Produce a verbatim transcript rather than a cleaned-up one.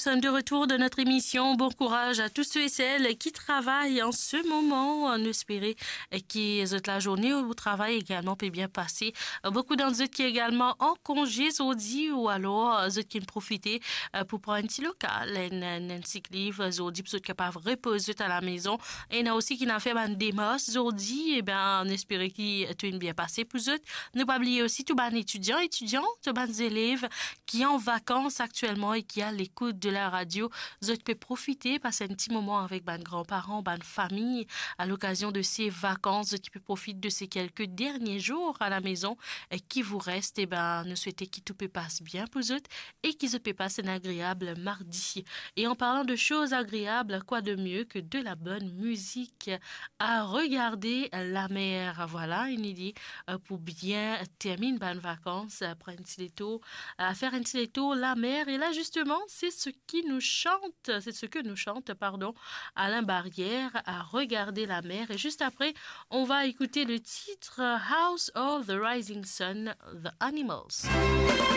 De retour de notre émission. Bon courage à tous ceux et celles qui travaillent en ce moment. Nou espere ki zot lazourne o travay egalman pe bien pase. Boukou dan zot ki egalman an konze zordi, ou alor zot ki profite pou pran enn ti lokal, enn, enn, enn sick leave zordi pou zot kapav repoz zot a la mezon. Ena osi ki'nn fer bann demars zordi, e ben, nou espere ki tou inn bien pase pou zot. Nou pa bliye osi tou bann etidian, etidian, tou bann zelev ki an vakans aktielman e ki a lekout de la radio, zot pe profite pas enn ti moman avek bann granparan, bann fami, a lokazion de se vakans, zot ki pe profit de se kelke dernie zour a la mezon, e ki vous reste, e ben, nou swete ki tou pe pas bien pou zot e ki zot pe pas enn agreab mardi. Et en parlant de choses agréables, quoi de mieux que de la bonne musique à regarder la mer? Voilà une idée, euh, pou bien termine bann vakans, euh, pran enn ti letour, euh, fer enn ti letour la mer. Et là, justement, c'est ce qui nous chante, c'est ce que nous chante, pardon, Alain Barrière, à regarder la mer. Et juste après, on va écouter le titre House of the Rising Sun, The Animals.